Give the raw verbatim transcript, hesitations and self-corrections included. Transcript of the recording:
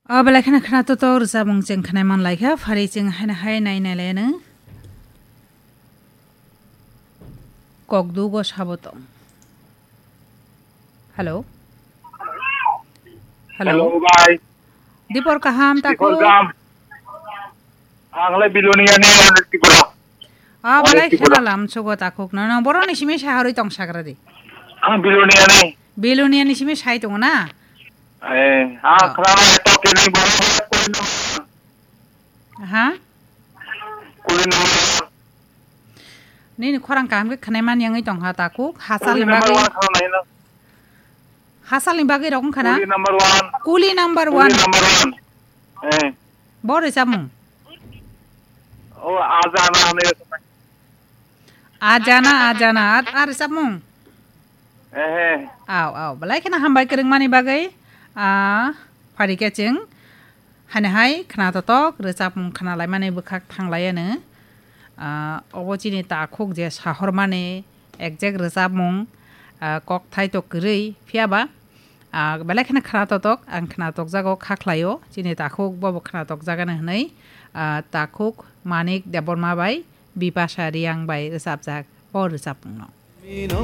O belai kheno khwna to to rwchapmung chwng khwnai man lai kha, phari chwng haino hai nai nai lai anw. Kok dugo sabo tong. Hello. Hello. Hello, bhai. Dipor kaham ta Dipor ko? Kaham. Ang le Bilonia ni, ang le Tripura. Ah, ang le balai Tripura. Khena lam sugo takhuk no. No, borok ni simi saharwi tong sagra di. Ang Bilonia ni. Bilonia ni simi sai tongo na? Eh, ah, ah. Khana to kini borok kuli no. Ha? Kuli no. Nini khorang kaham khe khwnai man yangwi tong ha takhuk. Hasal ni bagwi. Kuli number one khana. Hasal ni bagwi rok wngkha na? Kuli number one. Kuli number one. Kuli number one. Eh. Bo rwchapmung? O, Ajana hinwi rwchapmung. Ajana, Ajana. Ar, ar rwchapmung? Eh, eh. Aw, aw. Belai kheno hambai kwrwngmani bagwi. Ah, phari khe chwng. Haino hai khwna totok rwchapmung khwna laimani bwkhak thang lai anw. Ah, obo chini takhuk je sahormani exact rwchapmung, ah, kokthai to kwrwi, phiya ba, ah, belai kheno khwna totok, ang khwna tokjago kha khlaio, chini takhuk bobo khwna tokjagani hwnwi, ah, takhuk Manik Debbarma bai Bipasha Reang bai rwchapjak o rwchapmungno.